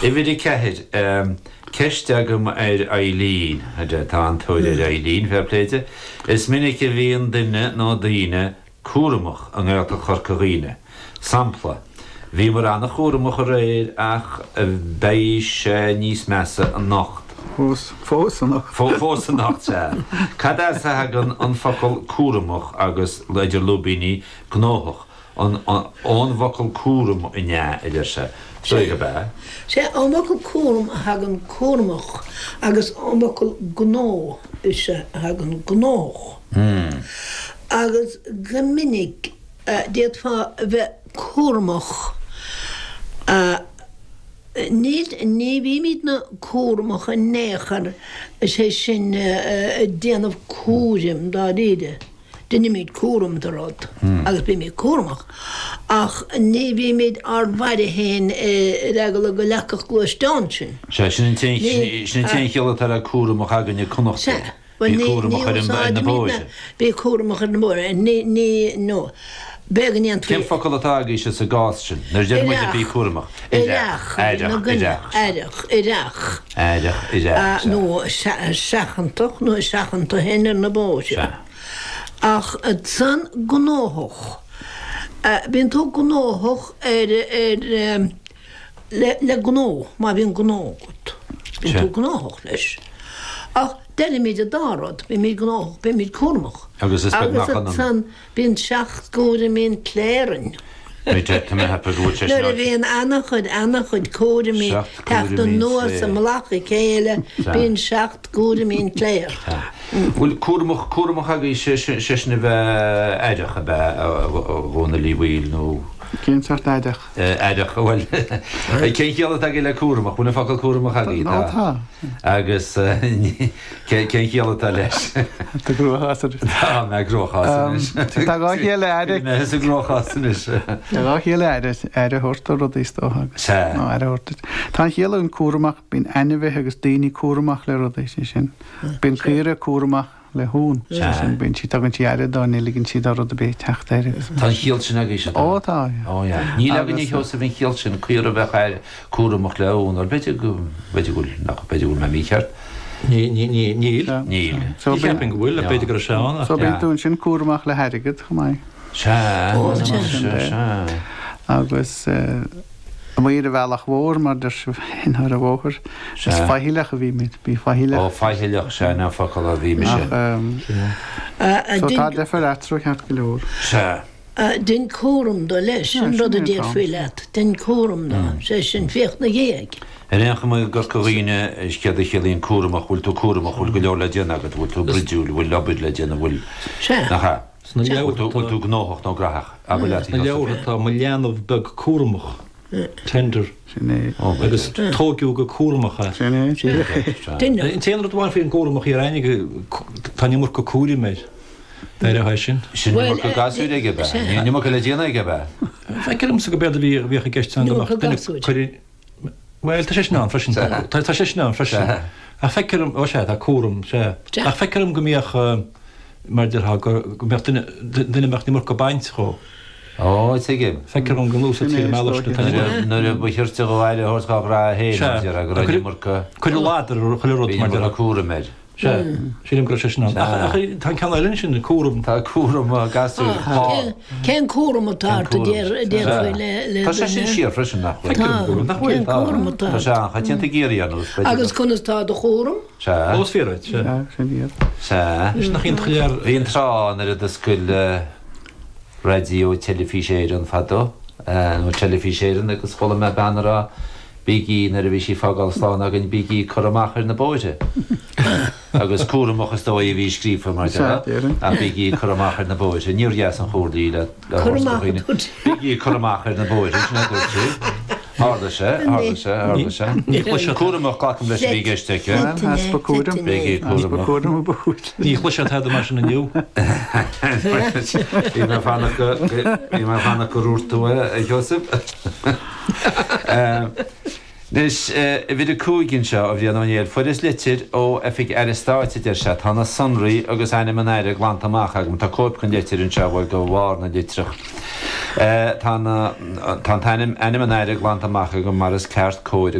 Uimhir 4, Ceist agam ar Eileen, tá an-tóir ar Eileen, fair play di. Is minic a bhíonn duine nó daoine cúramach i nGaeltacht Chorca Dhuibhne. Sampla, Bhíomar an-chúramach aréir ach beidh sé níos measa anocht. Fós, fós anocht. Fós anocht, sea. Cad as a thagann an focal cúramach agus, idir lúibíní, gnóthach? An ón bhfocal cúram an ea, a deir sé. Is dóigh gurb ea. Sea, ón bhfocal cúram a thagann cúramach agus ón bhfocal gnó is ea a thagann gnóthach. Agus go minic d'fhéadfá a bheith cúramach. Níl, ní bhímidne cúramach in aon chor, is é sin ag déanamh cúraim dáiríre. Deinimid cúram de rud agus bímid cúramach ach ní bhímid ár bhfaire féin ar eagla go leagfadh gluaisteán sinn. Sea, sin an t-aon chiall atá le cúramach againne Connachtaigh. Sea, Bí cúramach ar na bóithre. Bí cúramach ar na bóithre. Ní, ní, no. B'fhéidir go ndéanfaí. Cén focal atá agaibhse sa gcás sin? Nuair a deir muid bí cúramach. Aireach. Aireach, aireach. Aireach, aireach. Aireach, aireach. Nó seachantach nó seachain tú féin ar na bóithre. Sea. Ach ansan gnóthach. Bíonn tú gnóthach ar, ar, le, le gnó, má bhíonn gnó agat. Bíonn tú gnóthach leis. Ach deirimid an dá rud, bímid gnóthach, bímid cúramach. Agus is beag nach ionann. Agus ansan bíonn seacht gcúraimí an chléir orainn. Tá mé ag ceapadh go bhfuil sé sin. Nuair a bhíonn ana-chuid, ana-chuid cúraimí teacht anuas i mullach a chéile, bíonn seacht gcúraimí an chléir. Bhfuil cúramach, cúramach agaibh, sé sin a bheith aireach, ab ea, a Dhónaill Uí Bhaoill, nó. Cén sórt aireach? Aireach, bhuel, cén chiall atá agaibh le cúramach? Bhfuil an focal cúramach agaibh? Tá. Tá. Agus cén chiall atá leis? Tá gcruachás anois. Tá mé i gcruachás anois. Tá dhá chiall le aire. Mé i gcruachás anois. Tá dhá chiall le aire, aire a thabhairt do rudaí is dócha agus. Sea. Nó aire a thabhairt duit. Tá an chiall ann cúramach, bíonn ainmhithe agus daoine cúramach le rudaí, sé sin. Bíonn caora cúramach le huan, sé sin, bíonn sí, tugann sí aire dó, ní ligeann sí do rud ar bith teacht air agus. Tá an chiall sin agaibhse, tá? Ó tá, yeah. Ó yeah. Níl againne a Sheosaimh an chiall sin, caora a bheadh cúramach le uan, bhuel b'fhéidir go, b'fhéidir go bhfuil, nach, b'fhéidir go bhfuil mé mícheart. Níl. Níl. Ní cheapfainn go bhfuil, ach b'fhéidir go raibh sé ann ach. So bíonn tú ansin cúramach le hairgead chomh maith. Sea, sea, sea. Agus amuigh ar an bhealach mhór, mar deir sibh féin, ar an bhóthar, is faichilleach a bhímid, bí faichilleach. Ó, faichilleach, sea, an focal a bhí mise. Ach, so tá deifir eatarthu ceart go leor. Sea. Dein cúram do leis, sin rud a déarfaí leat, dein cúram do, sé sin, féach 'na dhiaidh. Ar aon chuma i gCorca Dhuibhne, is céard a chiallaíonn cúramach, bhfuil tú cúramach, bhfuil go leor le déanamh agat, bhfuil tú bruidiúil, bhfuil obair le déanamh, bhfuil, Sea. nach ea? Sna leabhartha Bhfuil tú gnóthach nó graitheach? Abair leat, a Sna Sheosaimh. leabhartha tá mo leanbh beag cúramach, tender, Sin é. agus tóigeadh go cúramach é. Sin é, díreach é. Duine. An t-aon rud amháin faoin gcúramach thiar aithne, tá an iomarca cúraim air. D'athródh é sin. Sin an iomarca gasúir aige ab ea? Ní an iomarca le déanamh aige ab ea? Feictear domsa go b'éard a bhí a bhíodh i gceist ann go mbeadh duine cuireadh Bhuel, tá sé sin ann freisin. Tá sé sin ann freisin. Ach feictear dom, ó sea, tá cúram, sea. Ach feictear dom go mbíodh, mar a déarfá, go mbeadh duine, duine a mbeadh an iomarca baint dhó. Ó, tuigim. Feictear dom go n-úsáidtear an bealach sin atá. Nuair a ba chirte dhó aire a thabhairt dhá ghraithe féin, mar a déarfá, go raibh an iomarca. Cuireadh ladar ar chuile rud, mar a déarfá. Bhí an iomarca cúraim air. Sea, sílim go raibh sé sin ann. Ach tá an ceann eile ansin, cúram. Tá cúram gasúir. Cén cúram atá ort a déarfaí le duine? Tá sé sin siar freisin, nach bhfuil? Tá, cén cúram atá ort? Tá sé an-choitianta i gCiarraí ar nós. Agus conas tá do chúram? Sea. Ó, is fíor duit, sea. Sin iad. Sea. Anois nach iontach lear. Bhí an tráth nuair a d'oscail Raidió Teilifís Éireann fadó, nó Teilifís Éireann agus chuala mé bean a rá, Bígí, nuair a bhí sí ag fágáil slán againn, bígí ag cur amach ar na bóithre. Agus cúramach is dóigh a bhí scríofa mar déarfá, ach bígí ag cur amach ar na bóithre. Níor dheas an chomhairle í le thabhairt do dhaoine. Bígí ag cur amach ar na bóithre, sin a dúirt sí. Tharla sé, tharla sé, tharla sé. Cúramach, glacaim leis a bhí i gceist aici. Easpa cúraim. Bígí cúramach. Ní chloisfeá tada mar sin inniu. Bhí mé ag fanacht go, bhí mé ag fanacht go ndúirt tú é, a Sheosaimh. Anois, uimhir 5 anseo, a Bhriain Ó Néill, fuaireas litir ó Oifig Aire Stáit, a deir sé, tá na sonraí agus ainm an Aire glanta amach agam, tá cóip den litir anseo, bhuel, go bharr na litreach. Tá na, tá an t-ainm, ainm an Aire glanta amach agam mar is ceart, cóir.